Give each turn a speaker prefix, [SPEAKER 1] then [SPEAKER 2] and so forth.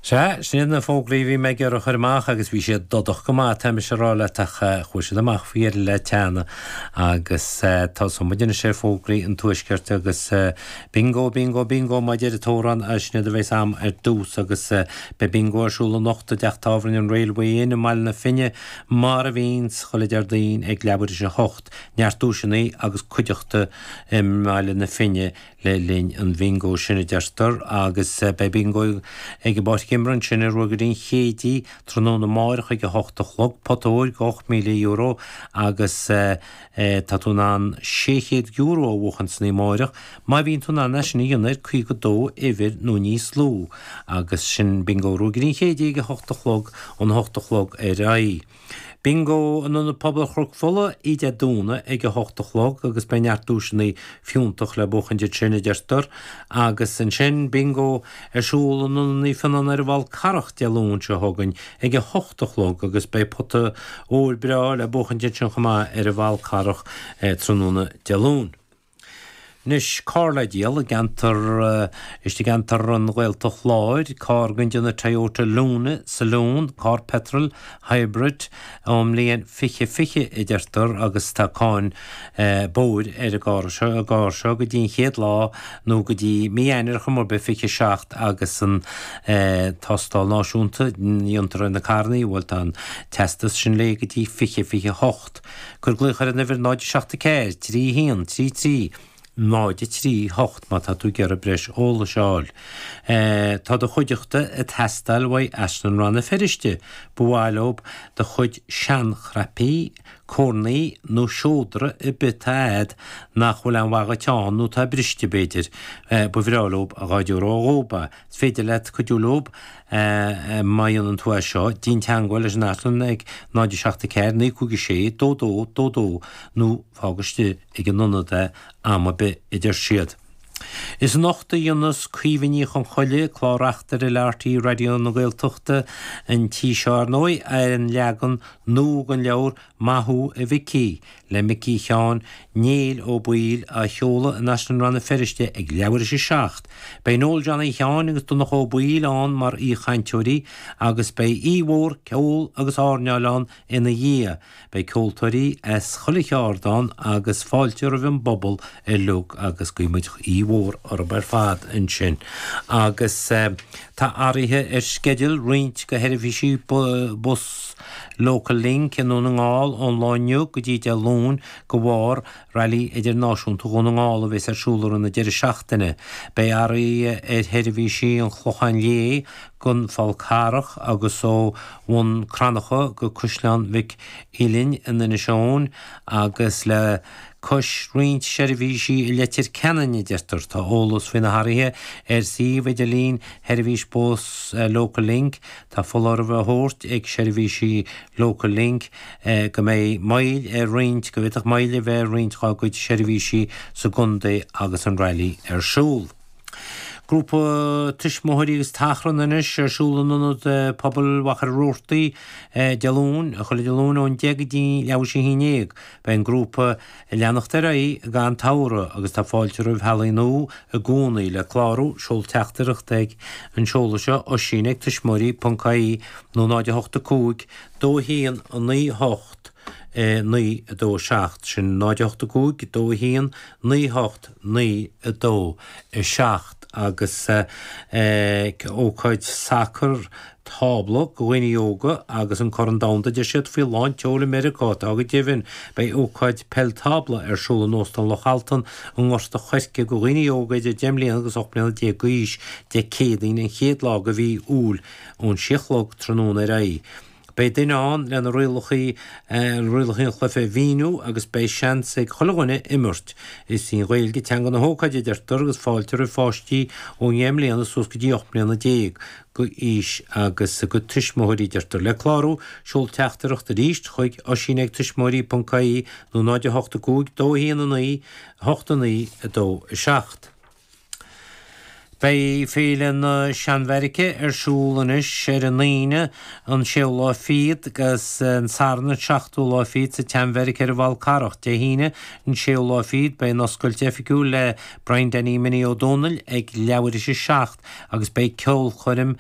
[SPEAKER 1] Sea, sin iad na fógraí a bhí mé ag iarraidh a chur amach agus bhí siad dodach go maith, tá mise a rá leat, ach chuaigh siad amach faoi dheireadh le teannadh agus tosóidh muid anois ar fógraí an Tuaiscirt agus Bingo, Bingo, Bingo mar a deir an t-amhrán, sin iad a bheas a'm ar dtús agus beidh Bingo ar siúl anocht i dteach tábhairne an Railway Inn i mBaile na Finne mar a bhíonns chuile Déardaoin ag leathuair tar éis a hocht. Neart duaiseanna agus cuideachta i mBaile na Finne le linn an bhingo sin, a deirtear, agus beidh bingo ag an bPáirc Imeartha ansin i Ruagairí an Chéididh tráthnóna amáireach ag 8 a chlog, pota óir de €8,000 agus tá tú in ann €600 a bhuachan san oíche amáireach má bhíonn tú in ann é sin a dhéanamh ar 52 uimhir nó níos lú agus sin bingo Ruagairí an Chéididh ag 8 a chlog, ón 8 a chlog ar aghaidh. Bingo in Ionad Pobail Chnoc Fola oíche Dé Domhnaigh ag 8 a chlog agus beidh neart duaiseanna fiúntach le buachaint ansin a deirtear agus ansin Bingo ar siúl in Ionad Naomh Fionnán ar an bhFál Carrach Dé Luain seo chugainn ag 8 a chlog agus beidh pota óir breá le buachaint ansin chomh maith ar an bhFál Carrach tráthnóna Dé Luain. Anois, carr le díol i gceantar, istigh i gceantar an Ghaeltacht Láir, carr den déanamh Toyota Luna Saloon, carr petrol hybrid ón mbliain 2020 a deirtear agus tá cáin bóthair ar an gcarr seo, an gcarr seo go dtí an chéad lá nó go dtí mí Eanáir ar chuma ar bith 27 agus an tástáil náisiúnta a dhéantar ar na carrannaí, bhuel tá an teastas sin léi go dtí 2028. Cuir glaoch ar an uimhir 0 7 4 3 1 3 3 0 3 8 má tá tú ag iarraidh breis eolais a fháil. Tá do chuideachta ag teastáil uaidh Áislann Rann na Feirste. Ba mhaith leob do chuid seanchnaipí, cornaí nó seodra ar bith atá a'd nach bhfuil aon mhaith dhuit ann nó atá briste b'fhéidir. Ba bhreá leob dhá dtabharfá dhób é. Is féidir leat cuidiú leob má dhéanann tú é seo, déan teangmháil leis an Áislann ag 0 7 4 9 5 6 2 2 2 2 nó fág istigh ag an ionad é am ar bith, a deir siad. Is anocht a dhéanas Caoimhe Ní Chonchoille, clár-reachtaire le RTÉ Raidió na Gaeltachta an tí seo, ar ndóigh, ar an leagan nua den leabhar Maith Thú a Mhicí, le Micí Sheáin Néill Ó Baoill á sheoladh in Áislann Rann na Feirste ag leathuair tar éis a 7. Beidh Noel Johnny Sheáin agus Donncha Ó Baoill ann mar aoichainteoirí agus beidh oíche mhór ceoil agus airneáil ann ina dhiaidh. Beidh ceoltóirí as chuile cheard ann agus fáilte roimh an bpobal uilig agus guíonn muid oíche mhór orthu ar fad ansin. Agus tá athruithe ar sceideal roinnt de sheirbhísí bus Local Link i nDún na nGall ón lá inniu go dtí Dé Luain de bharr Railí Idirnáisiúnta Dhún na nGall a bheas ar siúl i rith na deireadh seachtaine. Beidh athruithe ar sheirbhísí an Chlocháin Léith gon Fál Carrach agus ó Bhun Cranncha go Caisleán Mhic Uidhilin in Inis Eoghain agus le cois roinnt seirbhísí i Leitir Ceanainn, a deirtear. Tá eolas faoi na hathruithe ar suíomh idirlín sheirbhís bus Local Link. Tá foláireamh á thabhairt ag seirbhísí Local Link go mbeidh moill ar roinnt, go bhféadfadh moill a bheith ar roinnt dhá gcuid seirbhísí sa gcontae agus an railí ar siúl. Grúpa tuismitheoirí agus tachrann anois ar siúl in Ionad Pobail Mhachaire Rabhartaigh Dé Luain, chuile Dé Luain ón 10 go dtí leathuair tar éis a haon dhéag. Beidh an grúpa ag leanacht ar aghaidh gan tsamhradh agus tá fáilte roimh theaghlaigh nua i gcónaí. Le clárú, seol teachtaireacht ag an seoladh seo, oisín ag tuismitheoirí ponc ie nó 0 8 5 2 1 9 8 9 2 7. Sin 0 8 5 2 1 9 8 9 2 7 agus ócáid sacar tábla do dhaoine óga agus an Corn Domhanda deir siad faoi lán tseoil i Meiriceá. Tá go deimhin. Beidh ócáid peil tábla ar siúl in Óstán Loch Altan i nGort a' Choirce do dhaoine óga idir 10 mbliana agus 18 mbliana d'aois Dé Céadaoin an chéad lá de mhí Iúil ón sé a chlog tráthnóna ar aghaidh. Beidh duine ann lena rialacha rialacha an chluiche a mhíniú agus beidh seans ag chuile dhuine imirt. Is í an Ghaeilge teanga na hócáide a deirtear agus fáilte roimh pháistí ó dheich mbliana suas go dtí 18 mbliana d'aois agus a gcuid tuismitheoirí a deirtear. Le clárú, seol teachtaireacht arís chuig oisín ag tuismitheoirí ponc ie nó 0 8 5 2 1 9 8 9 2 7. Beidh Féile na Seanbheairice ar siúl anois ar an Aoine an séú lá fichead agus an Satharn an seachtú lá fichead sa tSeanbheairic ar an bhFál Carrach. Dé hAoine an séú lá fichead beidh an oscailt oifigiúil le Brian Danny Minnie Ó Dónaill ag leathuair tar éis a 7 agus beidh ceolchoirm.